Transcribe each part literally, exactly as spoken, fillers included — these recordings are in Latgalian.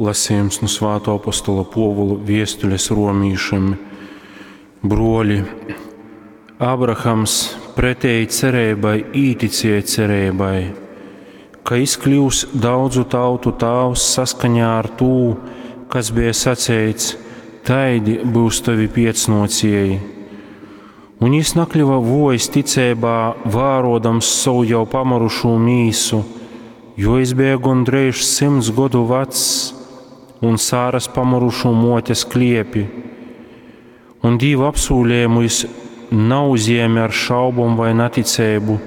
Lasījums nu Svātō apostola Pōvula viestules romīšim. Bruoļi, Abrahams pretēji cereibai īticēja cereibai, ka jis kļyus daudzu tautu tāvs saskaņā ar tū, kas beja saceits: taidi byus tovi piecnōcieji. Un jis nakļuva vuojs ticeibā, vārodams sovu jau pamyrušū mīsu, jo jis beja gondreiž symts godu vecs, un Sāras pamyrušū muotes kliepi. Un Dīva apsūlējumu jis nauzjēme ar šaubom vai naticeibu,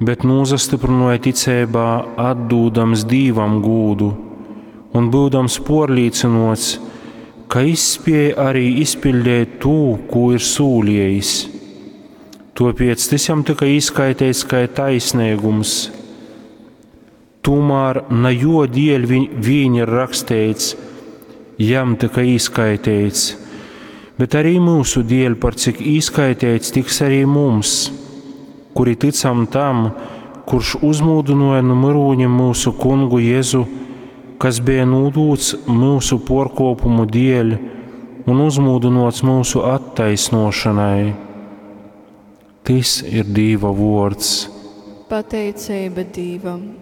bet nūsastyprynuoja ticeibā, atdūdams Dīvam gūdu un byudams puorlīcynuots, ka jis spēj arī izpiļdeit tū, kū ir sūliejis. Tuopiec tys jam tyka īskaiteits kai taisneigums. Tūmār na juo dieļ vīn ir raksteits, jam tyka īskaiteits, bet arī myusu dieļ, par cik īskaiteits tiks arī mums, kuri tycam tam, kurš uzmūdynuoja nu myrūņim myusu Kungu Jezu, kas beja nūdūts myusu puorkuopumu dieļ un uzmūdynuots myusu attaisnuošanai. Tys ir Dīva vuords. Pateiceiba Dīvam.